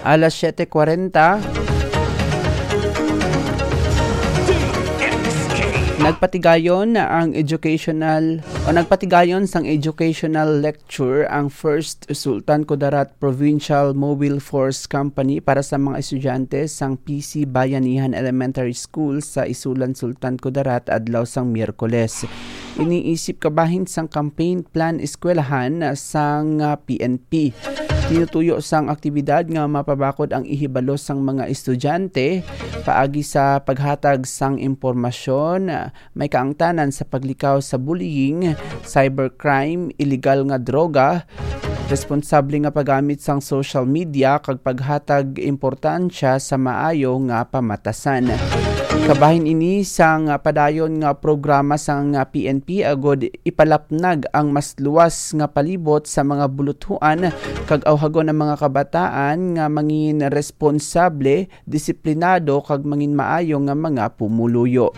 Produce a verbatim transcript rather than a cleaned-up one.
Alas siyete kwarenta, nagpatigayon na ang educational o nagpatigayon sang educational lecture ang First Sultan Kudarat Provincial Mobile Force Company para sa mga estudyante sang P C Bayanihan Elementary School sa Isulan, Sultan Kudarat, adlaw sang Miyerkules. Iniisip kabahin sang campaign plan eskwelahan sang, ah, P N P. Tinutuyo sang aktibidad nga mapabakod ang ihibalo sang mga estudyante paagi sa paghatag sang impormasyon, ah, may kaangtanan sa paglikaw sa bullying, cybercrime, iligal nga droga, responsable nga paggamit sang social media, kag paghatag importansya sa maayo nga pamatasan. Kabahin ini sang padayon nga programa sang P N P agud ipalapnag ang mas luwas nga palibot sa mga buluthuan kag awhagon ang mga kabataan nga mangin responsable, disiplinado, kag mangin maayo nga mga pumuluyo.